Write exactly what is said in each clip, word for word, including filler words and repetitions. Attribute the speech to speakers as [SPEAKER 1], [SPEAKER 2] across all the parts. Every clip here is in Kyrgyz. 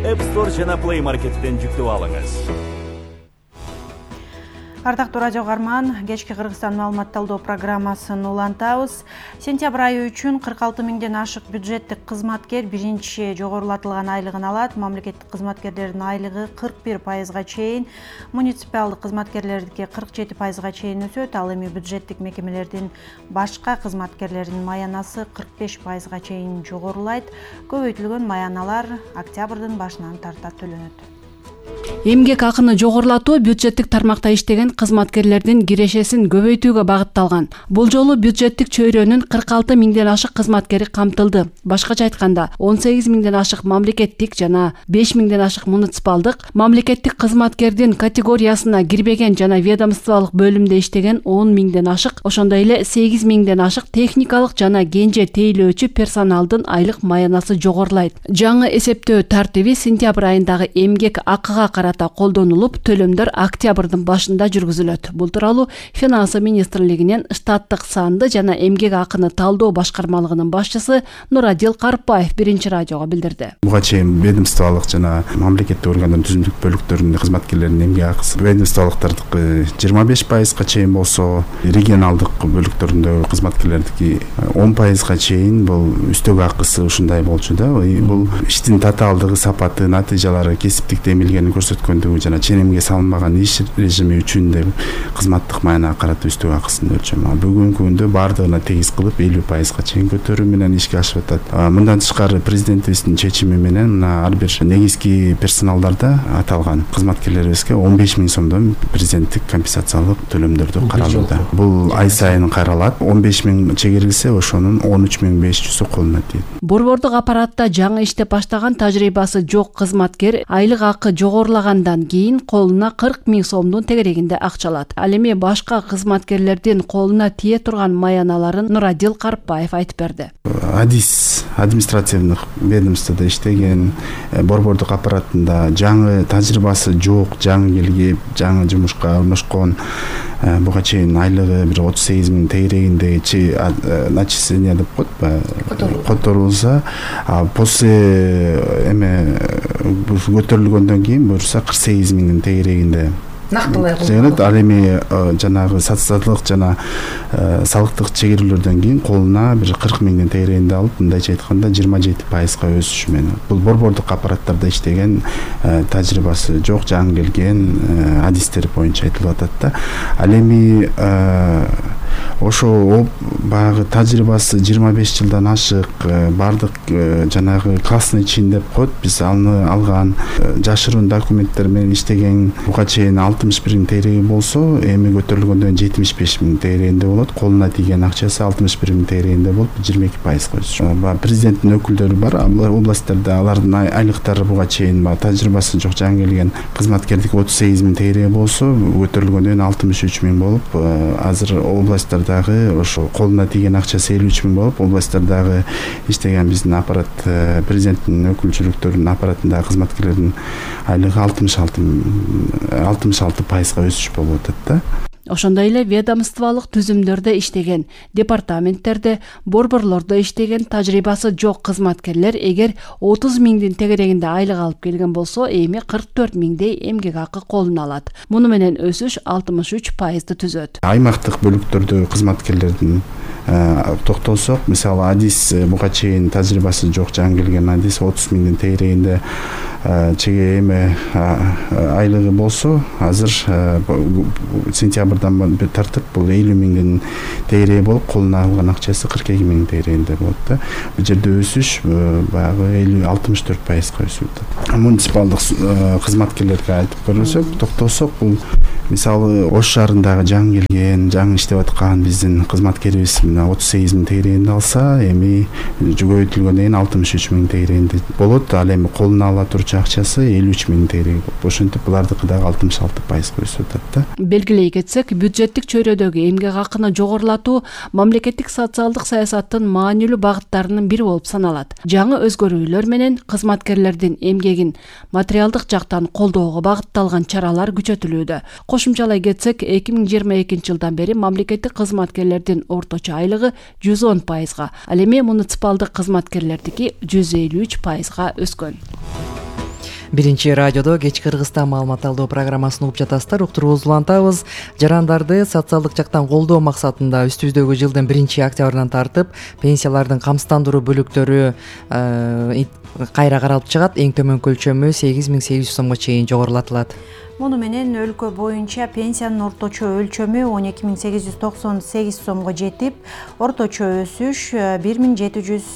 [SPEAKER 1] App Store жана Play Market'тен жүктөп алыңыз.
[SPEAKER 2] Ардактуу радио карман, кечки Кыргызстан маалымат талдоо программасын улантабыз. Сентябрь айы үчүн кырк алты миңден ашык бюджеттик кызматкер биринчи жогорулатылган айлыгын алат. Мамлекеттик кызматкерлердин айлыгы кырк бир пайызга чейин, муниципалдык кызматкерлердики кырк жети пайызга чейин өсөт. Ал эми бюджеттик мекемелердин башка кызматкерлеринин маянасы кырк беш пайызга чейин жогорулайт. Көбөйтүлгөн маяналар октябрдын башынан тарта төлөнөт.
[SPEAKER 3] Эмгек акыны жогорулатуу бюджеттик тармакта иштеген кызматкерлердин кирешесин көбөйтүүгө багытталган. Бул жолу бюджеттик чөйрөнүн кырк алты миңден ашык кызматкери камтылды. Башкача айтканда, он сегиз миңден ашык мамлекеттик жана беш миңден ашык муниципалдык, мамлекеттик кызматкердин категориясына кирбеген жана ведомстволук бөлүмдө иштеген он миңден ашык, ошондой эле сегиз миңден ашык техникалык жана кенже тейлөөчү персоналдын айлык маянасы жогорулайт. Жаңы эсептөө тартиби сентябрь айындагы эмгек акыга карата колдонулуп, төлөмдөр октябрдын башында жүргүзүлөт. Бул тууралуу Финансы министрлигинин штаттык санды жана эмгек акыны талдоо башкармалыгынын башчысы Нурадил Карпаев биринчи радиого билдирди.
[SPEAKER 4] Буга чейин ведомстволук жана мамлекеттик органдардын түзүмдүк бөлүктөрүнүн кызматкерлеринин эмгек акысы ведомстволуктардыкы жыйырма беш пайызга чейин болсо, регионалдык бөлүктөрүндөгү кызматкерлердики он пайызга чейин бул үстөк акысы ушундай болчу да. Бул иштин татаалдыгы, сапаты, натыйжалары, кесиптик эмилгени көрсөткөндүгү жана ченемге салынбаган иш режими үчүн да кызматтык маянага карата үстөк акысын өлчөмү. Бүгүнкү күндө бардыгына тегиз кылып элүү пайызга чейин көтөрүү менен ишке ашып атат. Мындан тышкары президентибиздин чечими менен мына ар бир негизги персоналдарда аталган кызматкерлерибизге он беш миң сомдон президенттик компенсациялык төлөмдөрдү каралууда. Бул ай сайын каралат. он беш миң чегерилсе, ошонун он үч миң беш жүзү колуна тийет.
[SPEAKER 3] Борбордук аппаратта жаңы иштеп баштаган тажрыйбасы жок кызматкер айлык акы жогорулагандан кийин колуна кырк миң сомдун тегерегинде акча алат. Ал эми башка кызматкерлердин колуна тие турган маяналарын Нурадил Карпаев айтып берди.
[SPEAKER 4] Адис административдик ведомстводо иштеген, борбордук аппаратында жаңы тажрыйбасы жок, жаңы келип, жаңы жумушка орношкон, буга чейин айлыгы бир отуз сегиз миң тегерегинде начисление деп коет, которулса, а после эме көтөрүлгөндөн кийин буюрса кырк сегиз миңдин тегерегинде
[SPEAKER 5] нактылай
[SPEAKER 4] колдонот. Ал эми жанагы социалдык жана салыктык чегерүүлөрдөн кийин колуна бир кырк миңдин тегерегинде алып, мындайча айтканда жыйырма жети пайызга өсүш менен. Бул борбордук аппараттарда иштеген, тажрыйбасы жок, жаңы келген адистер боюнча айтылып атат да. Ал эми ошо баягы тажрыйбасы жыйырма беш жылдан ашык, бардык жанагы классный чин деп коет, биз аны алган, жашыруун документтер менен иштеген, буга чейин алтымыш бир миң тегереги болсо, эми көтөрүлгөндөн жетимиш беш миң тегерегинде болот. Колуна тийген акчасы алтымыш бир миң тегерегинде болуп, жыйырма эки пайызга өсүш. Президенттин өкүлдөрү бар, областьтарда алардын айлыктары буга чейин тажрыйбасы жок жаңы келген кызматкердики отуз сегиз миң тегереги болсо, көтөрүлгөндөн алтымыш үч миң болуп, азыр областтардагы ошо колуна тийген акчасы элүү үч миң болуп, областтардагы иштеген биздин аппарат, президенттин өкүлчүлүктөрүнүн аппаратындагы кызматкерлердин айлыгы алтымыш алты пайызга өсүш болуп атат да.
[SPEAKER 3] Ошондой эле ведомстволук түзүмдөрдө иштеген, департаменттерде, борборлордо иштеген тажрыйбасы жок кызматкерлер эгер отуз миңдин тегерегинде айлык алып келген болсо, эми кырк төрт миңдей эмгек акы колуна алат. Муну менен өсүш алтымыш үч пайызды түзөт.
[SPEAKER 4] Аймактык бөлүктөрдө кызматкерлердин токтолсок, мисалы Адис буга чейин тажрыйбасы жок жаңы келген Адис отуз миңдин тегерегинде чеге эме айлыгы болсо, азыр сентябрдан тартып бул элүү миңдин тегереги болуп, колуна алган акчасы кырк эки миң тегерегинде болот да. Бул жерде өсүш баягы элүү алтымыш төрт пайызга өсүп атат. Муниципалдык кызматкерлерге айтып көрсөк, токтосок, бул мисалы Ош шаарындагы жаңы келген, жаңы иштеп аткан биздин кызматкерибиз отуз сегиз миң тегерегинде алса, эми көбөйтүлгөндөн кийин алтымыш үч миң тегерегинде болот. Ал эми колуна ала турчу акчасы элүү үч миң тегереги болуп, ошентип булардыкы дагы алтымыш алты пайызга өсүп атат да.
[SPEAKER 3] Белгилей кетсек, бюджеттик чөйрөдөгү эмгек акыны жогорулатуу мамлекеттик социалдык саясаттын маанилүү багыттарынын бири болуп саналат. Жаңы өзгөрүүлөр менен кызматкерлердин эмгегин материалдык жактан колдоого багытталган чаралар күчөтүлүүдө. Кошумчалай кетсек, эки миң жыйырма экинчи жылдан бери мамлекеттик кызматкерлердин орточо айлыгы жүз он пайызга, ал эми муниципалдык кызматкерлердики жүз элүү үч пайызга өскөн.
[SPEAKER 5] Биринчи радиодо кечки Кыргызстан маалымат алуу программасын угуп жатасыздар. Уктуруубузду улантабыз. Жарандарды социалдык жактан колдоо максатында үстүбүздөгү жылдын биринчи октябрынан тартып пенсиялардын камсыздандыруу бөлүктөрү кайра каралып чыгат. Эң төмөнкү өлчөмү сегиз миң сегиз жүз сомго чейин жогорулатылат.
[SPEAKER 2] Муну менен өлкө боюнча пенсиянын орточо өлчөмү он эки миң сегиз жүз токсон сегиз сомго жетип, орточо өсүш бир миң жети жүз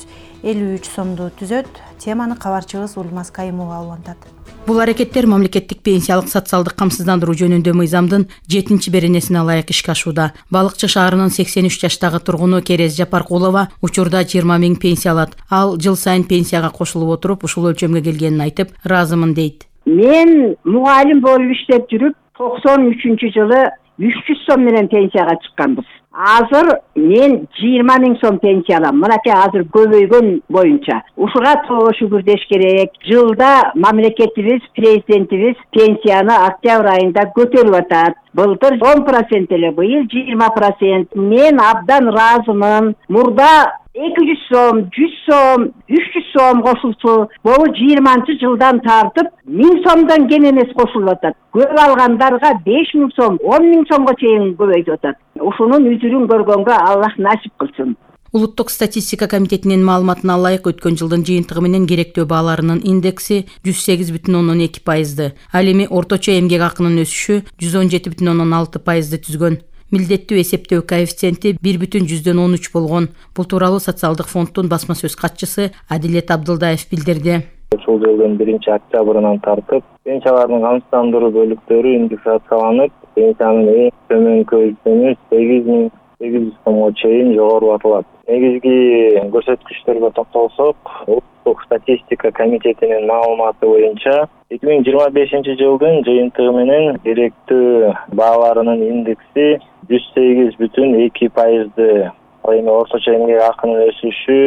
[SPEAKER 2] элүү үч сомду түзөт. Теманы кабарчыбыз Ульмас Кайымова улантат.
[SPEAKER 6] Бул аракеттер мамлекеттик пенсиялык социалдык камсыздандыруу жөнүндө мыйзамдын жетинчи беренесине ылайык ишке ашууда. Балыкчы шаарынын сексен үч жаштагы тургуну Керез Жапаркулова учурда жыйырма миң пенсия алат. Ал жыл сайын пенсияга кошулуп отуруп, ушул өлчөмгө келгенин айтып, ыраазымын дейт.
[SPEAKER 7] Мен мугалим болуп иштеп жүрүп, токсон үчүнчү жылы үч жүз сом менен пенсияга чыкканбыз. Азыр мен жыйырма миң сом пенсия алам. Мынакей азыр көбөйгөн боюнча. Ушуга Тобо шүгүр деш керек. Жылда мамлекетибиз, президентибиз пенсияны октябрь айында көтөрүп атат. Былтыр он процент эле, быйыл жыйырма процент. Мен абдан ыраазымын. Мурда эки жүз сом, жүз сом, үч жүз сом кошулчу. Бул жыйырманчы жылдан тартып миң сомдон кем эмес кошулуп атат. Көп алгандарга беш миң сом, он миң сомго чейин көбөйтүп атат. Ушунун үзүрүн көргөнгө Аллах насип кылсын.
[SPEAKER 6] Улуттук статистика комитетинин маалыматына ылайык өткөн жылдын жыйынтыгы менен керектөө бааларынын индекси жүз сегиз бүтүн ондон эки пайызды. Ал эми орточо эмгек акынын өсүшү жүз он жети бүтүн ондон алты пайызды түзгөн. Милдеттүү эсептөө коэффициенти бир бүтүн жүздөн он үч болгон. Бул тууралуу социалдык фонддун басма сөз катчысы Адилет Абдылдаев билдирди.
[SPEAKER 8] Ушул жылдын биринчи октябрынан тартып пенсиялардын камсыздандыруу бөлүктөрү индексацияланып, пенсиянын эң төмөнкү өлчөмү сегиз миң сегиз жүз сомго чейин жогорулатылат. Негизги көрсөткүчтөргө токтолсок, Улуттук статистика комитетинин маалыматы боюнча эки миң жыйырма бешинчи жылдын жыйынтыгы менен керектөө бааларынын индекси жүз сегиз бүтүн эки пайызды, ал эми орточо эмгек акынын өсүшү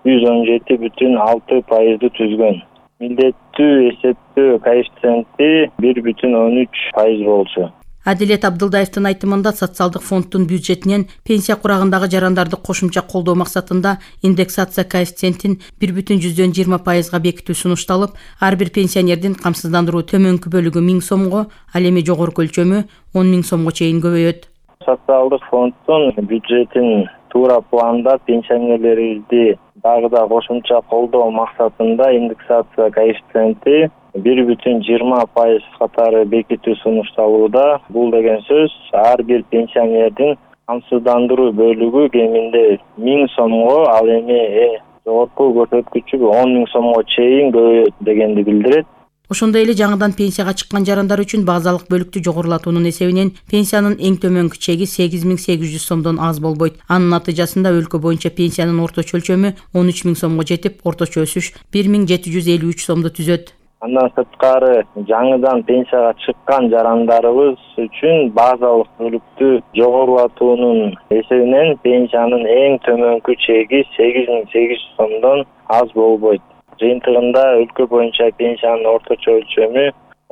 [SPEAKER 8] жүз он жети бүтүн алты пайызды түзгөн. Милдеттүү эсептөө коэффициенти бир бүтүн он үч пайыз болчу.
[SPEAKER 6] Адилет Абдылдаевдин айтымында социалдык фонддун бюджетинен пенсия курагындагы жарандарды кошумча колдоо максатында индексация коэффициентин бир бүтүн жүздөн жыйырма пайызга бекитүү сунушталып, ар бир пенсионердин камсыздандыруу төмөнкү бөлүгү миң сомго, ал эми жогорку өлчөмү он миң сомго чейин көбөйөт.
[SPEAKER 8] Социалдык фонддун бюджетин туура планда пенсионерлерибизди дагы да кошумча колдоо максатында индексация коэффициенти бир бүтүн жыйырма пайыз катары бекитүү сунушталууда. Бул деген сөз ар бир пенсионердин камсыздандыруу бөлүгү кеминде миң сомго, ал эми жогорку көрсөткүчү он миң сомго чейин көбөйөт дегенди билдирет.
[SPEAKER 6] Ошондой эле жаңыдан пенсияга чыккан жарандар үчүн базалык бөлүктү жогорулатуунун эсебинен пенсиянын эң төмөнкү чеги сегиз миң сегиз жүз сомдон аз болбойт. Анын натыйжасында өлкө боюнча пенсиянын орточо өлчөмү он үч миң сомго жетип, орточо өсүш бир миң жети жүз элүү үч сомду түзөт.
[SPEAKER 8] Андан сырткары жаңыдан пенсияга чыккан жарандарыбыз үчүн базалык бөлүктү жогорулатуунун эсебинен пенсиянын эң төмөнкү чеги сегиз миң сегиз жүз сомдон аз болбойт. Жыйынтыгында өлкө боюнча пенсиянын орточо өлчөмү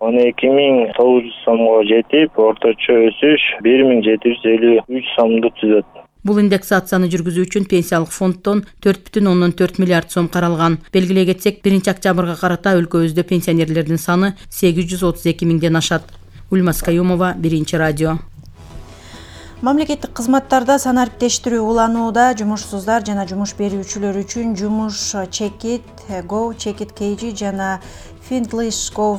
[SPEAKER 8] он эки миң тогуз жүз сомго жетип, орточо өсүш бир миң жети жүз элүү үч сомду түзөт.
[SPEAKER 6] Бул индексацияны жүргүзүү үчүн пенсиялык фонддон төрт бүтүн ондон төрт миллиард сом каралган. Белгилей кетсек, биринчи октябрга карата өлкөбүздө пенсионерлердин саны сегиз жүз отуз эки миңден ашат. Ульмас Кайымова, Биринчи радио.
[SPEAKER 2] Мамлекеттик кызматтарда санариптештирүү уланууда. Жумушсуздар жана жумуш берүүчүлөр үчүн жумуш Checkit Go, Checkit кей джи жана Findlish Go,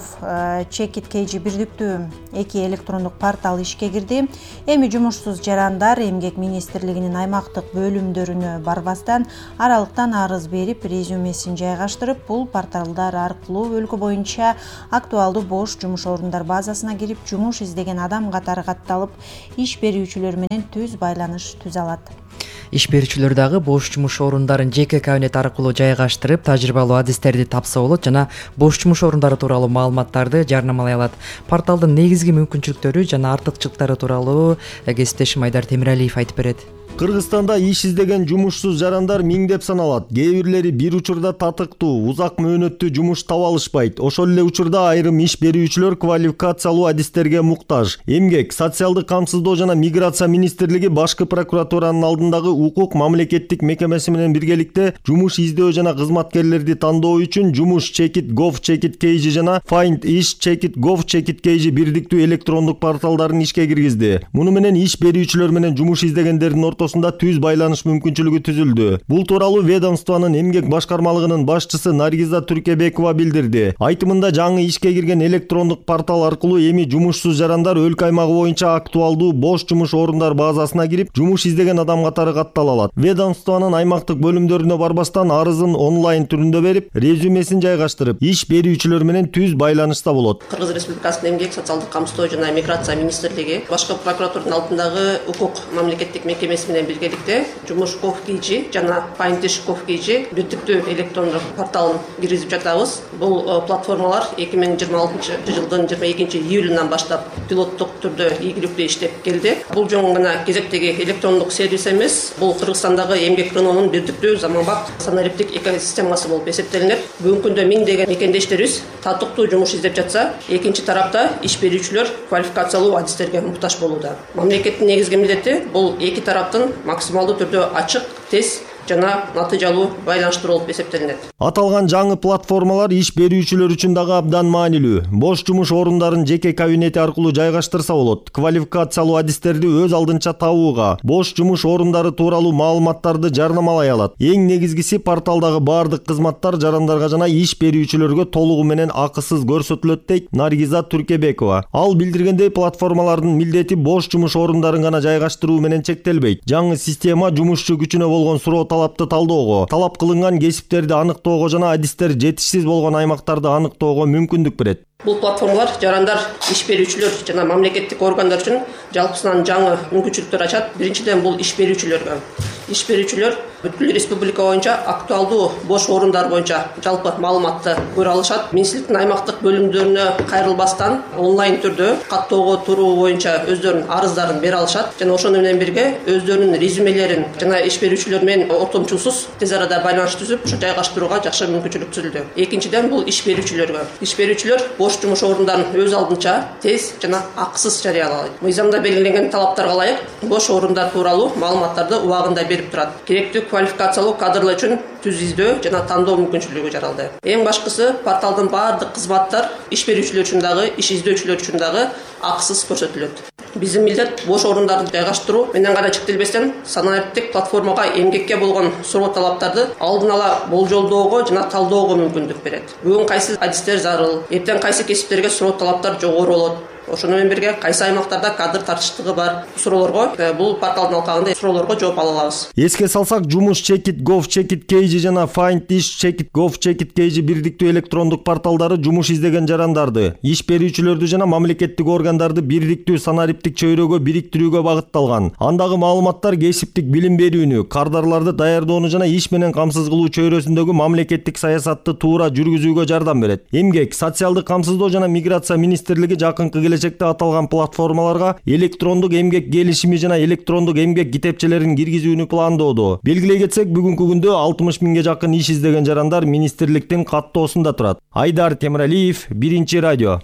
[SPEAKER 2] Checkit кей джи бирдиктүү эки электрондук портал ишке кирди. Эми жумушсуз жарандар Эмгек министрлигинин аймактык бөлүмдөрүнө барбастан аралыктан арыз берип, резюмесин жайгаштырып, бул порталдар аркылуу өлкө боюнча актуалдуу бош жумуш орундар базасына кирип, жумуш издеген адам катары катталып, иш берүүчүлөр менен түз байланыш түзө алат.
[SPEAKER 5] Иш берүүчүлөр дагы бош жумуш орундарын жеке кабинет аркылуу жайгаштырып, тажрыйбалуу адистерди тапса болот жана бош жумуш орундары тууралуу маалыматтарды жарнамалай алат. Порталдын негизги мүмкүнчүлүктөрү жана артыкчылыктары тууралуу кесиптешим Айдар Темиралиев айтып берет.
[SPEAKER 9] Кыргызстанда иш издеген жумушсуз жарандар миңдеп саналат. Кээ бирлери бир учурда татыктуу, узак мөөнөттүү жумуш таба алышпайт. Ошол эле учурда айрым иш берүүчүлөр квалификациялуу адистерге муктаж. Эмгек, социалдык камсыздоо жана миграция министрлиги башкы прокуратуранын алдындагы укук мамлекеттик мекемеси менен биргеликте жумуш издөө жана кызматкерлерди тандоо үчүн жумуш чекит gov чекит kg жана find ish чекит gov чекит kg бирдиктүү электрондук порталдарын ишке киргизди. Муну менен иш берүүчүлөр менен жумуш издегендердин ортосунда түз байланыш мүмкүнчүлүгү түзүлдү. Бул тууралуу ведомствонун эмгек башкармалыгынын башчысы Наргиза Түркебекова билдирди. Айтымында жаңы ишке кирген электрондук портал аркылуу эми жумушсуз жарандар өлкө аймагы боюнча актуалдуу бош жумуш орундар базасына кирип, жумуш издеген адам катары каттала алат. Ведомствонун аймактык бөлүмдөрүнө барбастан арызын онлайн түрүндө берип, резюмесин жайгаштырып, иш берүүчүлөр менен түз байланышта болот.
[SPEAKER 10] Кыргыз Республикасынын эмгек социалдык камсыздоо жана миграция министрлиги башкы прокуратуранын алдындагы укук мамлекеттик мекемеси менен биргеликте жумуш gov kg жана find ish gov kg бирдиктүү электрондук порталын киргизип жатабыз. Бул платформалар эки миң жыйырма алтынчы жылдын жыйырма экинчи июлунан баштап пилоттук түрдө ийгиликтүү иштеп келди. Бул жөн гана кезектеги электрондук сервис эмес, бул Кыргызстандагы эмгек рыногунун бирдиктүү заманбап санариптик экосистемасы болуп эсептелинет. Бүгүнкү күндө миңдеген мекендештерибиз татыктуу жумуш издеп жатса, экинчи тарапта иш берүүчүлөр квалификациялуу адистерге муктаж болууда. Мамлекеттин негизги милдети бул эки тараптын максималдуу түрдө ачык, тез жана натыйжалуу байланыштыруу болуп эсептелинет.
[SPEAKER 9] Аталган жаңы платформалар иш берүүчүлөр үчүн дагы абдан маанилүү. Бош жумуш орундарын жеке кабинети аркылуу жайгаштырса болот. Квалификациялуу адистерди өз алдынча табууга, бош жумуш орундары тууралуу маалыматтарды жарнамалай алат. Эң негизгиси порталдагы бардык кызматтар жарандарга жана иш берүүчүлөргө толугу менен акысыз көрсөтүлөт дейт Наргиза Түркебекова. Ал билдиргендей, платформалардын милдети бош жумуш орундарын гана жайгаштыруу менен чектелбейт. Жаңы система жумушчу күчүнө болгон суроо талапты талдоого, талап кылынган кесиптерди аныктоого жана адистер жетишсиз болгон аймактарды аныктоого мүмкүндүк берет.
[SPEAKER 10] Бул платформалар жарандар, иш берүүчүлөр жана мамлекеттик органдар үчүн жалпысынан жаңы мүмкүнчүлүктөр ачат. Биринчиден бул иш берүүчүлөргө. Иш берүүчүлөр бүткүл республика боюнча актуалдуу бош орундар боюнча жалпы маалыматты көрө алышат. Министрликтин аймактык бөлүмдөрүнө кайрылбастан онлайн түрдө каттоого туруу боюнча өздөрүнүн арыздарын бере алышат жана ошону менен бирге өздөрүнүн резюмелерин жана иш берүүчүлөр менен ортомчулсуз тез арада байланыш түзүп, ошо жайгаштырууга жакшы мүмкүнчүлүк түзүлдү. Экинчиден бул иш берүүчүлөргө. Иш берүүчүлөр бош жумуш орундарын өз алдынча тез жана акысыз жарыялайт. Мыйзамда белгиленген талаптарга ылайык бош орундар тууралуу маалыматтарды убагында берип турат. Керектүү квалификациялуу кадрлар үчүн түз издөө жана тандоо мүмкүнчүлүгү жаралды. Эң башкысы, порталдын бардык кызматтар иш берүүчүлөр үчүн дагы, иш издөөчүлөр үчүн дагы акысыз көрсөтүлөт. Биздин милдет бош орундарды жайгаштыруу менен гана чектелбестен, санариптик платформага эмгекке болгон суроо талаптарды алдын ала болжолдоого жана талдоого мүмкүндүк берет. Бүгүн кайсы адистер зарыл, эртең кайсы кесиптерге суроо талаптар жогору болот. Ошону менен бирге кайсы аймактарда кадр тартыштыгы бар суроолорго, бул порталдын алкагында суроолорго жооп ала алабыз.
[SPEAKER 9] Эске салсак, жумуш чекит gov чекит kg жана find ish чекит gov чекит kg бирдиктүү электрондук порталдары жумуш издеген жарандарды, иш берүүчүлөрдү жана мамлекеттик органдарды бирдиктүү санариптик чөйрөгө бириктирүүгө багытталган. Андагы маалыматтар кесиптик билим берүүнү, кардарларды даярдоону жана иш менен камсыз кылуу чөйрөсүндөгү мамлекеттик саясатты туура жүргүзүүгө жардам берет. Эмгек, социалдык камсыздоо жана миграция министрлиги жакынкы келечекте аталган платформаларга электрондук эмгек келишими жана электрондук эмгек китепчелерин киргизүүнү пландоодо. Белгилей кетсек, бүгүнкү күндө алтымыш миңге жакын иш издеген жарандар министрликтин каттоосунда турат. Айдар Темиралиев, Биринчи радио.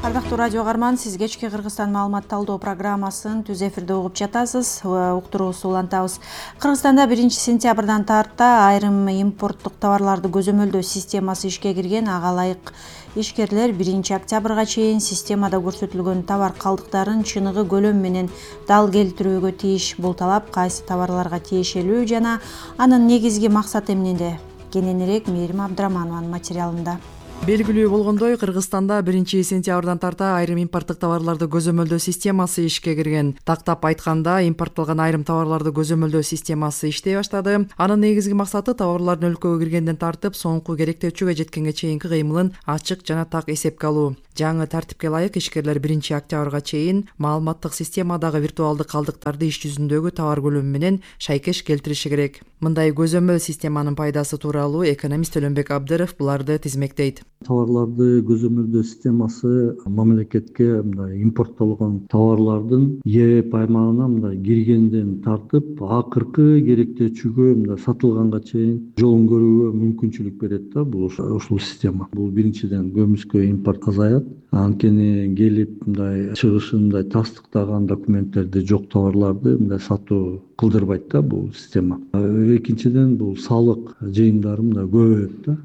[SPEAKER 2] Ардактуу радио каарман, сиз кечки Кыргызстан маалымат талдоо программасын түз эфирде угуп жатасыз. Уктуруубузду улантабыз. Кыргызстанда биринчи сентябрдан тарта айрым импорттук товарларды көзөмөлдөө системасы ишке кирген. Ага ылайык ишкерлер биринчи октябрга чейин системада көрсөтүлгөн товар калдыктарын чыныгы көлөм менен дал келтирүүгө тийиш. Бул талап кайсы товарларга тиешелүү жана анын негизги максаты эмнеде? Кененирээк Мээрим Абдыраманованын материалында.
[SPEAKER 5] Белгилүү болгондой, Кыргызстанда биринчи сентябрдан тарта айрым импорттук товарларды көзөмөлдөө системасы ишке кирген. Тактап айтканда, импорттолгон айрым товарларды көзөмөлдөө системасы иштей баштады. Анын негизги максаты товарлардын өлкөгө киргенден тартып, соңку керектөөчүгө жеткенге чейинки кыймылын ачык жана так эсепке алуу. Жаңы тартипке ылайык ишкерлер биринчи октябрга чейин маалыматтык системадагы виртуалдык калдыктарды иш жүзүндөгү товар көлөмү менен шайкеш келтириши керек. Мындай көзөмөл системанын пайдасы тууралуу экономист Өлөнбек Абдыров буларды тизмектейт.
[SPEAKER 11] Товарларды көзөмөлдөө системасы мамлекетке мындай импорттолгон товарлардын еп аймагына мындай киргенден тартып акыркы керектөөчүгө мындай сатылганга чейин жолун көрүүгө мүмкүнчүлүк берет да бул ушул система. Бул биринчиден көмүскө импорт азаят. Анткени келип мындай чыгышын мындай тастыктаган документтерди жок товарларды мындай сатуу кылдырбайт да бул система. Экинчиден бул салык жыйымдары мындай көбөйөт да.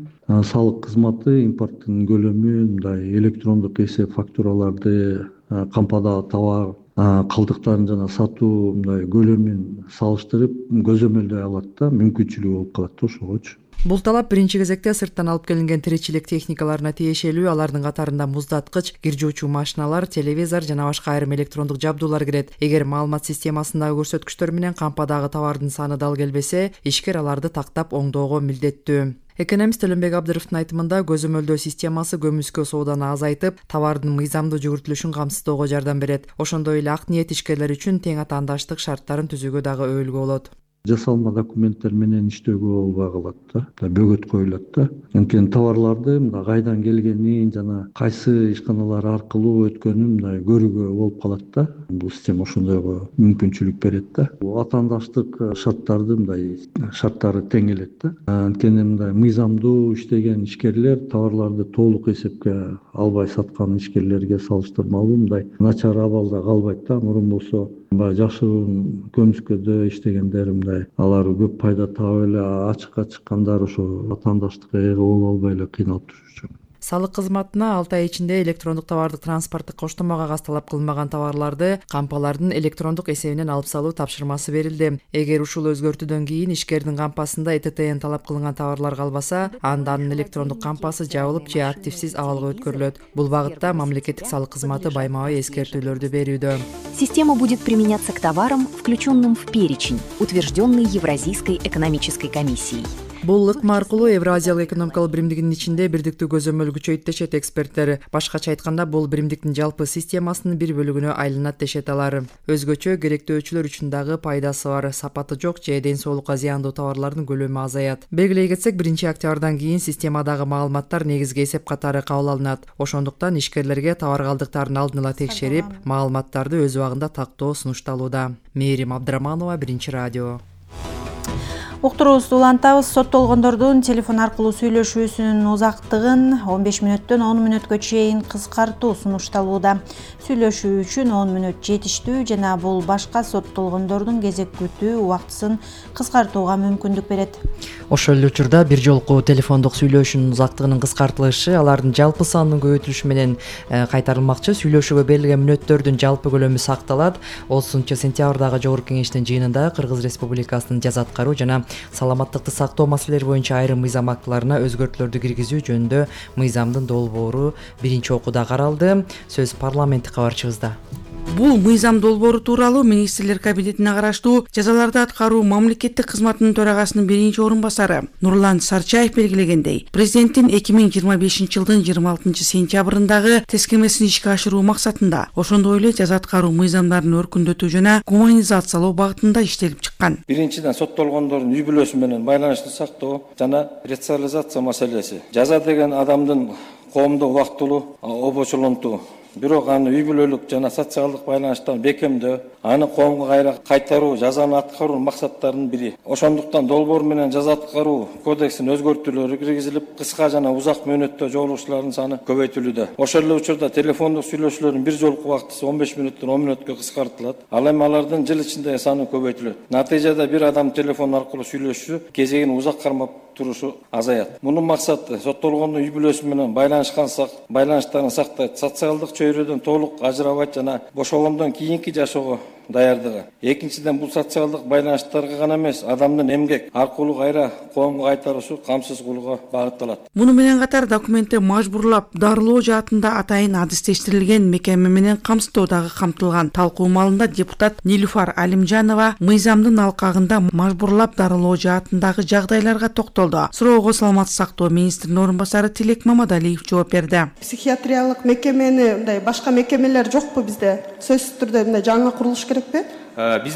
[SPEAKER 11] Салык кызматы импорттун көлөмү мындай электрондук эсеп фактураларды, кампадагы товар калдыктарын жана сатуу мындай көлөмүн салыштырып көзөмөлдөй алат да, мүмкүнчүлүгү болуп калат да ошогочу.
[SPEAKER 5] Бул талап биринчи кезекте сырттан алып келинген тиричилик техникаларына тиешелүү. Алардын катарында муздаткыч, кир жуучу машиналар, телевизор жана башка айрым электрондук жабдуулар кирет. Эгер маалымат системасындагы көрсөткүчтөр менен кампадагы товардын саны дал келбесе, ишкер аларды тактап оңдоого милдеттүү. Экономист Төлөнбек Абдыровдун айтымында көзөмөлдөө системасы көмүскө сооданы азайтып, товардын мыйзамдуу жүгүртүлүшүн камсыздоого жардам берет. Ошондой эле ак ниет ишкерлер үчүн тең атаандаштык шарттарын түзүүгө дагы өйүлгө болот.
[SPEAKER 11] Жасалма документтер менен иштөөгө болбой калат да, бөгөт коюлат да. Анткени товарларды мындай кайдан келгенин жана кайсы ишканалар аркылуу өткөнүн мындай көрүүгө болуп калат да. Бул система ошондойго мүмкүнчүлүк берет да. Атаандаштык шарттарды мындай шарттары тең келет да. Анткени мындай мыйзамдуу иштеген ишкерлер товарларды толук эсепке албай саткан ишкерлерге салыштырмалуу мындай начар абалда калбайт да. Мурун болсо баягы жашыруун көмүскөдө иштегендер мындай алар көп пайда таап эле ачыкка чыккандар ошо атаандаштыкка ээ боло албай эле кыйналып турушчу.
[SPEAKER 5] Салык кызматына алты ай ичинде электрондук товардык транспорттук коштомо кагаз талап кылынбаган товарларды кампалардын электрондук эсебинен алып салуу тапшырмасы берилди. Эгер ушул өзгөртүүдөн кийин ишкердин кампасында Э Т Т Н талап кылынган товарлар калбаса, анда анын электрондук кампасы жабылып же активсиз абалга өткөрүлөт. Бул багытта мамлекеттик салык кызматы байма-бай эскертүүлөрдү берүүдө.
[SPEAKER 12] Система будет применяться к товарам, включенным в перечень, утвержденный Евразийской экономической комиссией.
[SPEAKER 5] Бул ыкма аркылуу Евразиялык экономикалык биримдигинин ичинде бирдиктүү көзөмөл күчөйт дешет эксперттер. Башкача айтканда, бул биримдиктин жалпы системасынын бир бөлүгүнө айланат дешет алар. Өзгөчө керектөөчүлөр үчүн дагы пайдасы бар. Сапаты жок же ден соолукка зыяндуу товарлардын көлөмү азаят. Белгилей кетсек, биринчи октябрдан кийин системадагы маалыматтар негизги эсеп катары кабыл алынат. Ошондуктан ишкерлерге товар калдыктарын алдын ала текшерип, маалыматтарды өз убагында тактоо сунушталууда. Мээрим Абдыраманова, Биринчи радио.
[SPEAKER 2] Уктуруубузду улантабыз. Соттолгондордун телефон аркылуу сүйлөшүүсүнүн узактыгын он беш мүнөттөн он мүнөткө чейин кыскартуу сунушталууда. Сүйлөшүү үчүн он мүнөт жетиштүү жана бул башка соттолгондордун кезек күтүү убактысын кыскартууга мүмкүндүк берет.
[SPEAKER 5] Ошол эле учурда бир жолку телефондук сүйлөшүүнүн узактыгынын кыскартылышы алардын жалпы санынын көбөйтүлүшү менен кайтарылмакчы. Сүйлөшүүгө берилген мүнөттөрдүн жалпы көлөмү сакталат. Олсунча сентябрдагы Жогорку Кеңештин жыйынында Кыргыз Республикасынын жаза аткаруу жана саламаттыкты сактоо маселелери боюнча айрым мыйзам актыларына өзгөртүүлөрдү киргизүү жөнүндө мыйзамдын долбоору биринчи окууда каралды. Сөз парламенттик кабарчыбызда.
[SPEAKER 13] Бул мыйзам долбоору тууралуу Министрлер кабинетине караштуу жазаларды аткаруу мамлекеттик кызматынын төрагасынын биринчи орун басары Нурлан Сарчаев белгилегендей, президенттин эки миң жыйырма бешинчи жылдын жыйырма алтынчы сентябрындагы тескемесин ишке ашыруу максатында, ошондой эле жаза аткаруу мыйзамдарын өркүндөтүү жана гуманизациялоо багытында иштелип чыккан.
[SPEAKER 14] Биринчиден соттолгондордун үй бүлөсү менен байланышты сактоо жана ресоциализация маселеси. Жаза деген адамдын коомдо убактылуу обочолонтуу, бирок аны үй бүлөлүк жана социалдык байланыштан бекемдөө, аны коомго кайра кайтаруу жазаны аткаруунун максаттарынын бири. Ошондуктан долбоор менен жаза аткаруу кодексине өзгөртүүлөр киргизилип, кыска жана узак мөөнөттө жолугушуулардын саны көбөйтүлүүдө. Ошол эле учурда телефондук сүйлөшүүлөрдүн бир жолку убактысы он беш мүнөттөн он мүнөткө кыскартылат. Ал эми алардын жыл ичинде саны көбөйтүлөт. Натыйжада бир адам телефон аркылуу сүйлөшүү кезегин узак кармап турушу азаят. Мунун максаты соттолгондун үй бүлөсү менен байланышкан байланыштарын сактайт, социалдык чөйрөдөн толук ажырабайт жана бошогондон кийинки жашоого даярдыгы. Экинчиден, бул социалдык байланыштарга гана эмес, адамдын эмгек аркылуу кайра коомго кайтаруусу камсыз кылууга багытталат.
[SPEAKER 13] Муну менен катар документте мажбурлап дарылоо жаатында атайын адистештирилген мекеме менен камсыздоо дагы камтылган. Талкуу маалында депутат Нилуфар Алимжанова мыйзамдын алкагында мажбурлап дарылоо жаатындагы жагдайларга токтолду. Суроого саламаттык сактоо министринин орун басары Тилек Мамадалиев жооп берди.
[SPEAKER 15] Психиатриялык мекемени мындай башка мекемелер жокпу бизде? Сөзсүз түрдө мындай жаңы курулуш керекпи?